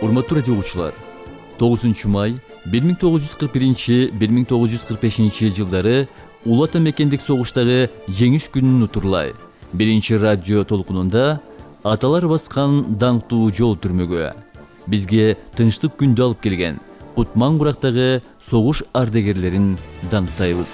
Урматтуу радио угуучулар, 9 май 1941-1945 жылдары Улуу Ата Мекендик согуштагы жеңиш күнүн утурлай. Биринчи радио толкунунда аталар баскан даңктуу жол түрмөгү бизге тынчтык күндү алып келген Кутман Курактагы согуш ардагерлерин даңктайбыз.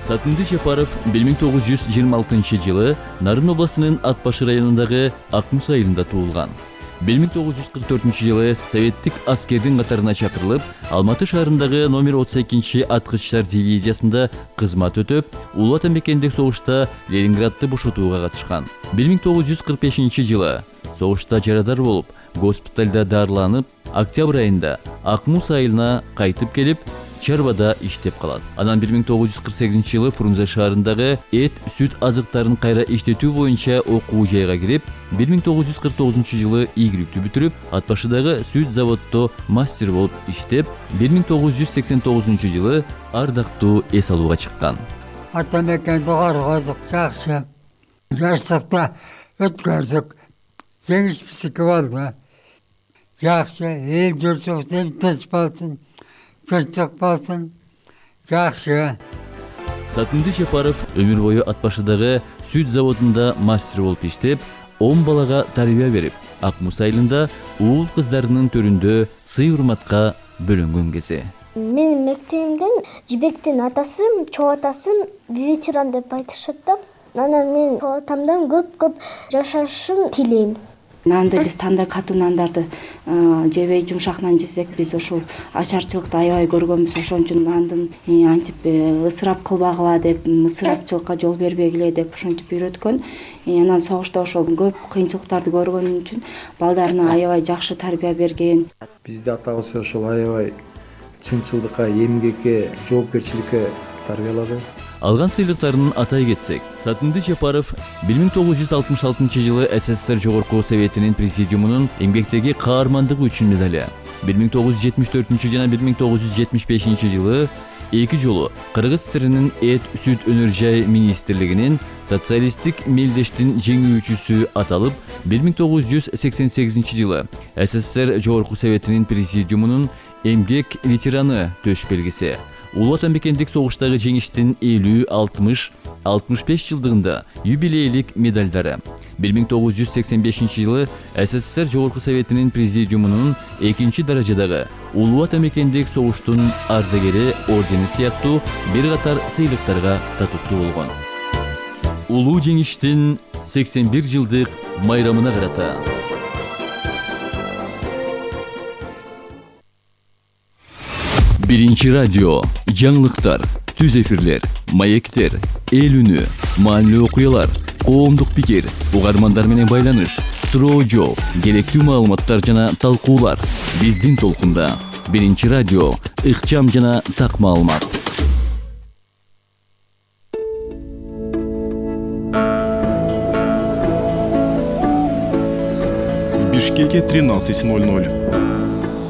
Сатынды Жапаров 1926 жылы Нарын областынын Ат Башы районундагы Акмус айылында туулган. 1944 жылы советтик аскердин катарына чакырылып, Алматы шаарындагы номер 32 аткычтар дивизиясында кызмат өтөп, Улуу Ата Мекендик согушта Ленинградты бошотууга катышкан. 1945 жылы согушта жарадар болуп, госпиталда дарыланып, октябрь айында Акмус айылына кайтып келип, чарбада иштеп калат. Анан 1948 жылы Фрунзе шаарындагы эт, сүт азыктарын кайра иштетүү боюнча окуу жайга кирип, 1949 жылы ийгиликтүү бүтүрүп, Ат Башыдагы сүт заводдо мастер болуп иштеп, 1989 жылы ардактуу эс алууга чыккан. Ата Мекенди коргодук, жакшы. Жаштыкта өткөрдүк. Жеңиш биздики болду. Жакшы, эл журтчулук тынч болсун. Тынчтык болсун. Жакшы. Сатынды Жапаров өмүр бою Ат Башыдагы сүт заводунда мастер болуп иштеп, 10 балага тарбия берип, Акмус айылында уул кыздарынын төрүндө сый-урматка бөлөнгөн кези. Менин мектебимден Жибектин атасы, чоо атасын ветеран деп айтышат да. Анан мен чоо атамдан көп жашашын тилейм. Нанды биз катуу нандарды жебей жумшак нан жесек, биз ушул ачарчылыкты аябай көргөнбүз. Ошон үчүн нандын антип ысырап кылбагыла деп, ысырапчылыкка жол бербегиле деп ошентип үйрөткөн. Анан согушта ошол көп кыйынчылыктарды көргөнүм үчүн балдарына аябай жакшы тарбия берген. Бизди атабыз ошол аябай чынчылдыкка, эмгекке, жоопкерчиликке тарбиялады. Алган сыйлыктарын атай кетсек, Сатынды Жапаров 1966 жылы СССР Жогорку Советинин президиумунун эмгектеги каармандыгы үчүн медали, 1974 жана 1975 жылы 2 жолу Кыргыз ССРнин эт, сүт өнөр жай министрлигинин социалисттик мелдештин жеңүүчүсү аталып, 1988 жылы СССР Жогорку Советинин президиумунун эмгек ветераны төш белгиси, Улуу Ата Мекендик согуштагы жеңиштин 50, 60, 65 жылдыгында юбилейлик медалдары, 1985 жылы СССР Жогорку Советинин президиумунун 2 даражадагы Улуу Ата Мекендик согуштун ардагери ордени сыяктуу бир катар сыйлыктарга татыктуу болгон. Улуу жеңиштин 81 жылдык майрамына карата Биринчи радио, жаңылыктар, түз эфирлер, маектер, эл үнү, маанилүү окуялар, коомдук пикир, угармандар менен байланыш, суроо жооп, керектүү маалыматтар жана талкуулар биздин толкунда. Биринчи радио, ыкчам жана так маалымат. В Бишкеке 13:00.